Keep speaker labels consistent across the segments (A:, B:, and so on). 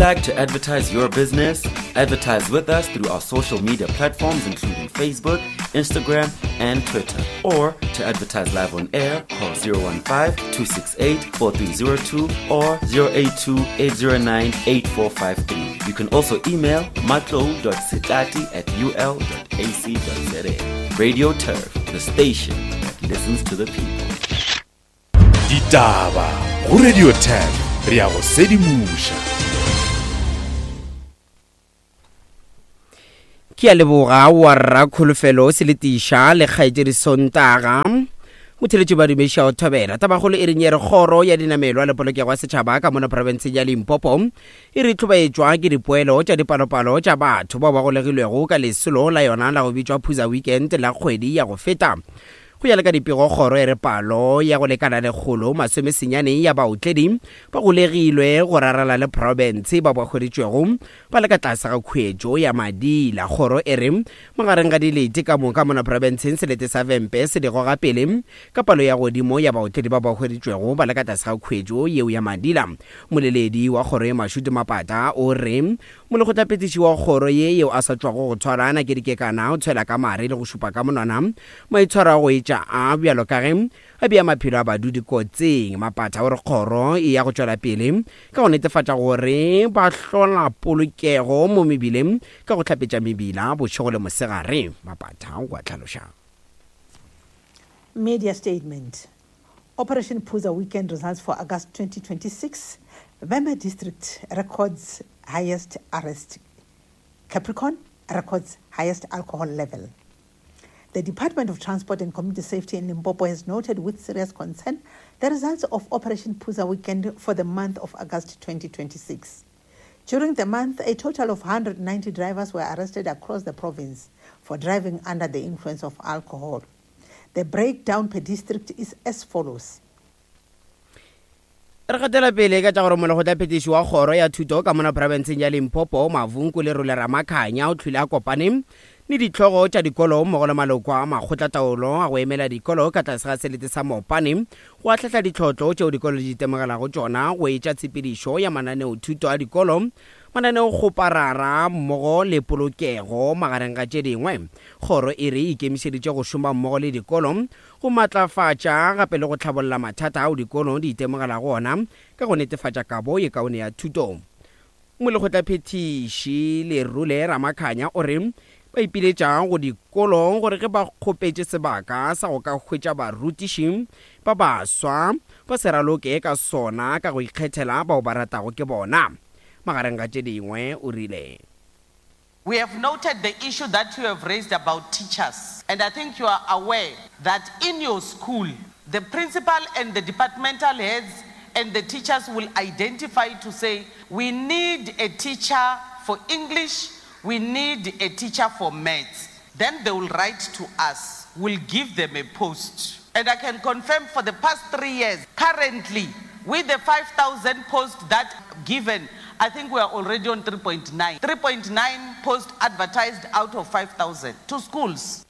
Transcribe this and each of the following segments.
A: like to advertise your business? Advertise with us through our social media platforms, including Facebook, Instagram, and Twitter. Or to advertise live on air, call 015 268 4302 or 082 809 8453. You can also email matlo.sitati at ul.ac.za. Radio Turf, the station that listens to the people.
B: Ditaba go Radio 10 re ya go sedimoša.
C: Ke a leboga wa rra Kholofelo Seletiša le kgaetšedi Sontaga. Motheletši ba dumeša o thobela. Tabakgolo e reng ye re kgoro ya dinamelwa le polokego ya setšhaba ka mona profenseng ya Limpopo e re tlhobaetšwa ke dipoelo tša dipalopalo tša batho bao ba golegilwego ka lesolo la yona la go bitšwa Phuza Weekend la kgwedi ya go feta. Go ya le ka dipego kgoro e re palo ya go lekana lekgolo masomesenyane ya baotledi ba golegilwe go rarala le profense ba ba hweditšwego ba le ka tlase ga khuetšo ya madila. Kgoro e re magareng ga dilete ka moka mona profenseng selete sa Vhembe se di goga pele ka palo ya godimo ya baotledi ba ba hweditšwego ba le ka tlase ga khuetšo yeo ya madila. Moleledi wa kgoro ye Mashudu Mapata o re Molekgotlaphethiši wa kgoro ye yeo a sa tšwago go tshwara Nakedi Kekana o tshwela ka mare le go šupa ka monwana maitshwaro a go etša a bjalo ka ge a bea maphelo a badudi kotsing. Mapatha o re kgoro e ya go tšwela pele ka go netefatša gore ba hlola polokego mo mebileng ka go hlapetša mebila bošego le mosegare. Mapatha o a hlaloša.
D: Media statement Operation Phuza weekend results for August 2026 Vhembe district records highest arrest Capricorn records highest alcohol level The Department of Transport and Community Safety in Limpopo has noted with serious concern the results of Operation Phuza Weekend for the month of August 2026. During the month, a total of 190 drivers were arrested across the province for driving under the influence of alcohol. The breakdown per district is as follows.
C: Re gatela pele ka tša gore molekgotlaphethiši wa kgoro ya thuto ka mona profenseng ya Limpopo, Mavunku Lerole Ramakhanya o hlwile a kopane le dihlogo tša dikolo mmogo le maloko a makgotlataolo a go emela dikolo ka tlase ga selete sa Mopane go ahlahla ditlhotlo tšeo dikolo di itemogelago tšona go etša tshepedišo ya mananeothuto a dikolo, mananeokgoparara mmogo le polokego magareng ga tše dingwe. Kgoro e re e ikemišeditše go šoma mmogo le dikolo go matlafatša gape le go hlabolla mathata ao dikolo di itemogelago ona ka go netefatša kabo ye kaone ya thuto. Molekgotlaphethiši Lerule Ramakhanya o re ba ipiletša go dikolo gore ge ba kgopetše sebaka sa go ka hwetša barutiši ba baswa ba se raloke ka sona ka go ikgethela bao ba ratago ke bona. Magareng ga tše dingwe o rile.
E: We have noted the issue that you have raised about teachers and I think you are aware that in your school the principal and the departmental heads and the teachers will identify to say we need a teacher for English, we need a teacher for maths. Then they will write to us, we'll give them a post. And I can confirm for the past three years, currently with the 5,000 posts that given, I think we are already on 3.9. 3.9 posts advertised out of 5,000 to schools.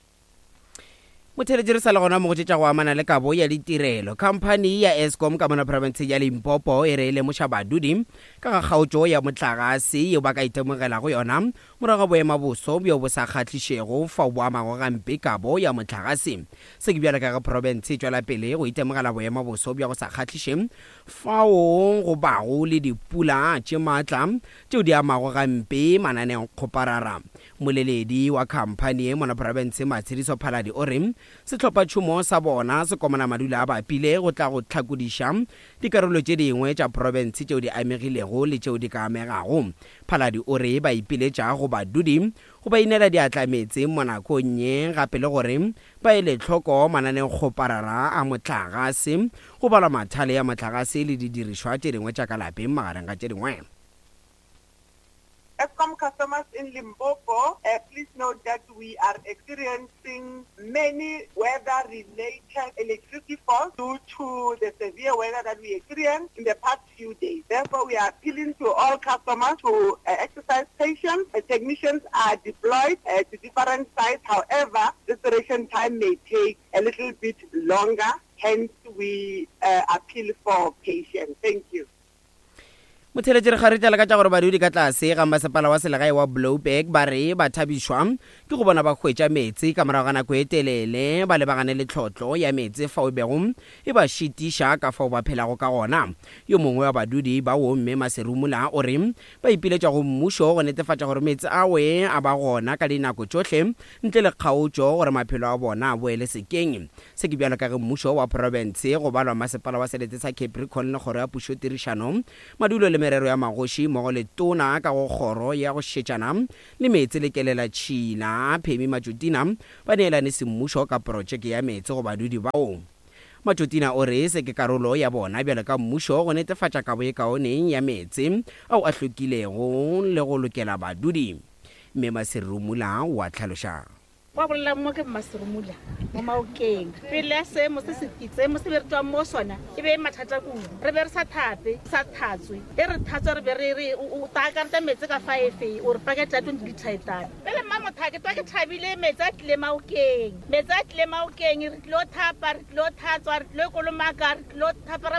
C: Motheeletši re sa le gona mo go tše tša go amana le kabo ya ditirelo. Khamphani ya Eskom ka mona profenseng ya Limpopo e re e lemoša badudi ka ga kgaotšo ya mohlagase yeo ba ka itemogelago yona morago ga boemaboso bjo bo sa kgahlišego fao bo amago gampe kabo ya mohlagase. Se ke bjalo ka ge profense e tšwela pele go itemogela boemaboso bja go sa kgahliše fao go bago le dipula tše maatla tšeo di amago gampe mananeokgoparara. Mmoleledi wa khamphani ye mona profense Matshediso Phaladi o re sehlophatšhomo sa bona se komana madula a bapile go tla go hlakodiša dikarolo tše dingwe tša profense tšeo di amegilego le tšeo di ka amegago. Phaladi o re ba ipiletša go badudi go ba inela diatla meetseng mo nakong ye gape le gore ba ele hloko mananeokgoparara a mohlagase, go balwa mathale a mohlagase le didirišwa tše dingwe tša ka lapeng magareng ga tše dingwe.
F: Eskom customers in Limpopo, please note that we are experiencing many weather-related electricity faults due to the severe weather that we experienced in the past few days. Therefore, we are appealing to all customers to exercise patience. Technicians are deployed to different sites. However, restoration time may take a little bit longer. Hence, we appeal for patience. Thank you.
C: Motheeletši re kgaritla ka tša gore badudi ka tlase ga masepala wa selegae wa Blouberg ba re ba thabišwa ke go bona ba hwetša meetse ka morago ga nako e telele ba lebagane le tlhotlo ya meetse fao e bego e ba šitiša ka fao ba phelago ka gona. Yo mongwe wa badudi bao Mme Maserumula o re ba ipiletša go mmušo go netefatša gore meetse awe a ba gona ka dinako tšohle ntle le kgaotšo gore maphelo a bona a boele sekeng. Se ke bjalo ka ge mmušo wa profense, go balwa masepala wa selete sa Capricorn le kgoro ya pušotirišano, madulo le merero ya magoši mmogo le tona ka go kgoro ya go šetšana le meetse le kelelatšhila, Phemi Matšotina, ba neelane semmušo ka protšeke ya meetse go badudi bao. Matšotina o re se ke karolo ya bona bjalo ka mmušo go netefatša kabo ye kaone ya meetse ao a hlwekilego le go lokela badudi. Mme Maserumula o a hlaloša.
G: Wa bolelang mo ke Mmaserumula mo Maokeng. Pele ya seemo se se seemo se be re tšwang mo sona e be e mathata kudu. Re be re sa thape, sa thatswe. E re thatswa re be re re o taakareta meetse ka fa efe o re pakete ya 20 litre e tala. Pele mma motha ke twa ke thabile meetse a tlile Maokeng. Meetse a tlile Maokeng re tlilo thapa, re tlilo thatswa, re tlilo kolomaka, re tlilo thapa ra.